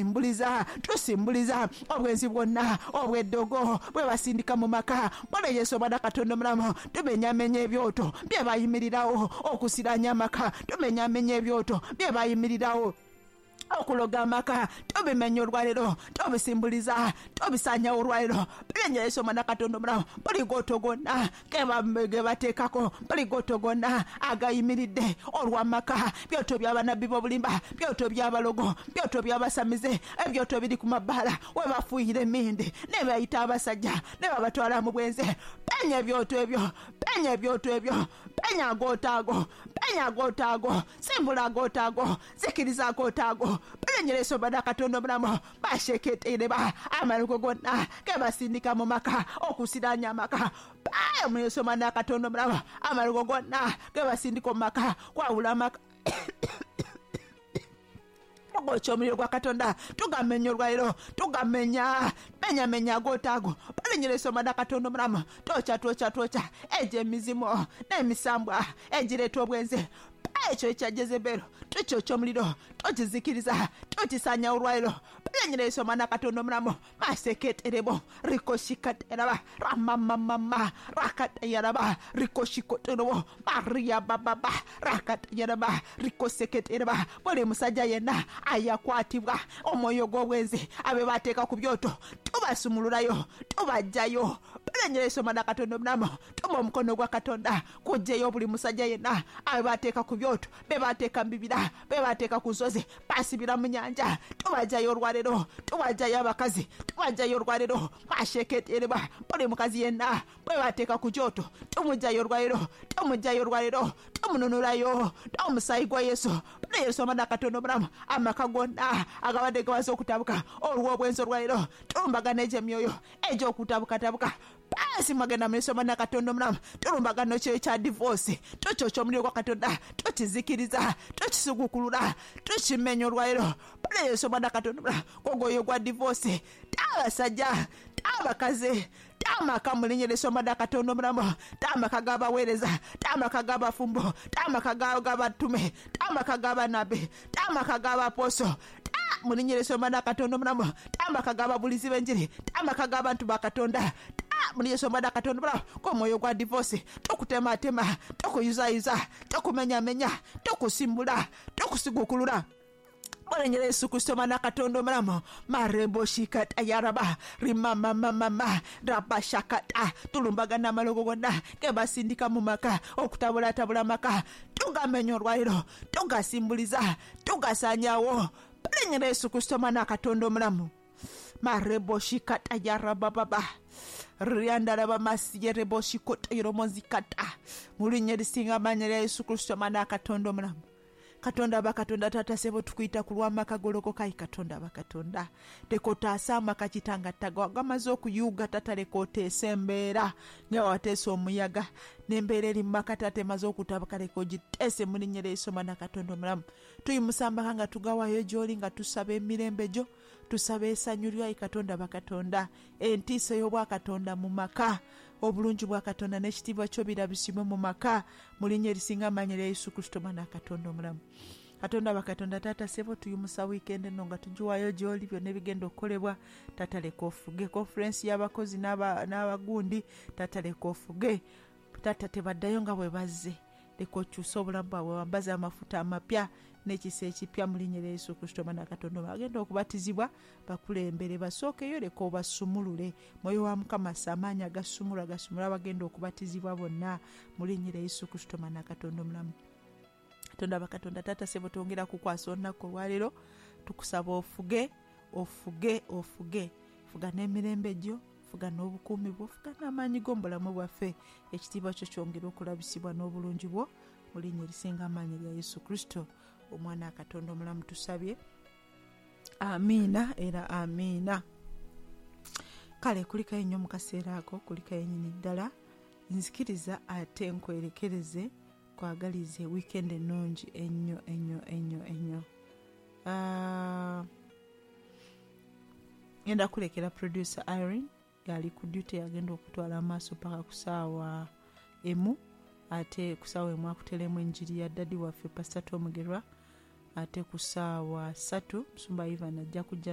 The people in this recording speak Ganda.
Mbuliza tusimbuliza obwenzi bwonna obw'eddogo bwe basindika mu maka. Bwana Yesu omwana Katonda omulamu, tumenyamenya ebyoto bye bayimirirawo okusiranya amaka, tumenyamenya ebyoto bye bayimirirawo okuloga amaka, tubimenya olwaleero, tubisimbuliza, tubisanyawo olwaleero. Bwana Yesu omwana Katonda omulamu, buli gooto gonna ge bateekako, buli gooto gonna agayimiridde olw'amaka, byoto bya banabbi b'obulimba, byoto by'abalogo, byoto by'abasamize, ebyoto biri ku mabbaala we bafuuyira emmindi ne bayita abasajja ne babatwala mu bwenzi. Penya ebyoto ebyo, penya ebyoto ebyo, penya agooto ago, penya agooto ago, simbula agooto ago, zikiriza agooto ago. Penya Yesu omwana Katonda omulamu, basheketereba amalugo gonna ge basindika mu maka okusiranya amaka. Paya Yesu omwana Katonda omulamu, amalugo gonna ge basindika mu maka kwawula amaka. Tugokya omuliro gwa Katonda, tugamenya olwaleero, tugamenya, menyamenya agooto ago. Palinyira Yesu omwana Katonda omulamu, twokya twokya twokya egyo emizimu n'emisambwa egireeta obwenzi. Ekyo ekya Jezebelo tukyokya omuliro, tukizikiriza, tukisaanyawo olwaleero. Palinyira Yesu omwana Katonda omulamu, maseketerebo rikoshikateraba ramamamama rakatayaraba rikoshikoterobo maria bababa rakatayaraba rikoseketereba. Buli musajja yenna ayakwatibwa omwoyo gw'obwenzi abe bateeka ku byoto, tubasumululayo, tubajjayo. Palinyira Yesu omwana Katonda omulamu, tuma omukono gwa Katonda kujjayo buli musajja yenna abe bateeka ku byoto, be bateeka mu bibira, be bateeka ku nsozi, basibira mu nyanja. Tubajjayo olwaleero, tubajjayo abakazi, tubajjayo olwaleero. Masheketereba buli mukazi yenna bwe bateeka ku kyoto, tumujjayo olwaleero, tumujjayo olwaleero, tumununulayo n'omusaayi gwa Yesu. Buli Yesu omwana Katonda omulamu, amaka gonna agabadde gabaze okutabuka olw'obwenzi olwaleero, tulumbagana egyo emyoyo egy'okutabukatabuka. Basi mwagenda mu Yesu omwana Katonda omulamu, tulumbagana ekyoyo kya divorce, tukyokya omuliro gwa Katonda, tukizikiriza, tukisugukulula, tukimenya olwaleero. Buli Yesu omwana Katonda omulamu, ogwoyo gwa divorce, t'abasajja, t'abakazi, t'amaka mu linnya lya Yesu omwana Katonda omulamu, t'amaka g'abaweereza, t'amaka g'abafumbo, t'amaka g'abatume, t'amaka g'abanabbi, t'amaka g'abaposo, mu linnya lya Yesu omwana Katonda omulamu, t'amaka g'ababulizi b'enjiri, t'amaka g'abantu ba Katonda, mu linnya lya Yesu omwana Katonda omulamu, k'omwoyo gwa divorce tukutematema, tukuyuzayuza, tukumenyamenya, tukusimbula, tukusigukulula. Mulinnya lya Yesu Kristo omwana Katonda omulamu, marebo shikata yaraba rimamamamama rabashakata, tulumbagana amalogo gonna ge basindika mu maka okutabulatabula amaka, tugamenya olwaleero, tugasimbuliza, tugasanyawo. Mulinnya lya Yesu Kristo omwana Katonda omulamu, marebo shikata yarabababa riandaraba masiyerebo shikota yoromozikata, mu linnya erisinga amaanyi erya Yesu Kristo omwana Katonda omulamu. Katonda aba Katonda taata sebo tukwita ku lw'amaka golokoka. Ayi Katonda aba Katonda, leka otaase amaka kitanga taga gamaze okuyuuga. Tata leka oteese embeera nga wateesa omuyaga n'embeera eri mu maka taata emaze okutabuka, leka ogiteese mu linnya lya Yesu omwana Katonda omulamu. Tuyimusa amaka nga tugawayo gy'oli, nga tusaba emirembe gyo, tusaba essanyu lyo. Ayi Katonda aba Katonda, entiisa ey'obwakatonda mu maka, obulungi bwa Katonda n'ekitiibwa kyo birabisibwe mu maka mu linnya erisinga amaanyi erya Yesu Kristo omwana Katonda omulamu. Katonda aba Katonda taata sebo, tuyimusa wiikendi eno nga tugiwaayo gy'oli, byonna ebigenda okukolebwa taata leka ofuge. Konferensi y'abakozi n'abagundi taata leka ofuge. Taata tebaddayo nga bwe bazze, leka okyuse obulamu bwabwe, wambaze amafuta amapya n'ekisa ekipya mu linnya lya Yesu Kristo omwana Katonda omulamu. Agenda okubatizibwa bakulembere, basookeyo, leka obasumulule. Mwoyo wa Mukama assa amaanyi agasumulula, gasumulula abagenda okubatizibwa bonna mu linnya lya Yesu Kristo omwana Katonda omulamu. Katonda aba Katonda taata sebo, twongera kukwasa olunaku olwaleero, tukusaba ofuge, ofuge, ofuge, fuga n'emirembe gyo, fuga n'obukuumi bwo, fuga n'amaanyi go mu bulamu bwaffe. Ekitiibwa kyo kyongere okulabisibwa n'obulungi bwo mu linnya erisinga amaanyi erya Yesu Kristo omwana Katonda omulamu tusabye. Amiina era amiina. Kale kulikayo nnyo mu kaseera ako, kulikayo nyini ddala. Nzikiriza ate nkwerekereze, kwagalize wiikendi ennungi ennyo ennyo ennyo ennyo. Ngenda kulekera producer Irene yali ku duty, yagenda okutwala amaaso paka ku saawa emu, ate ku saawa emu akuteremu enjiri ya dadi waffe Pastor Tom Mugerwa. Ate ku saawa 3 Musumba Ivan ajja kujja.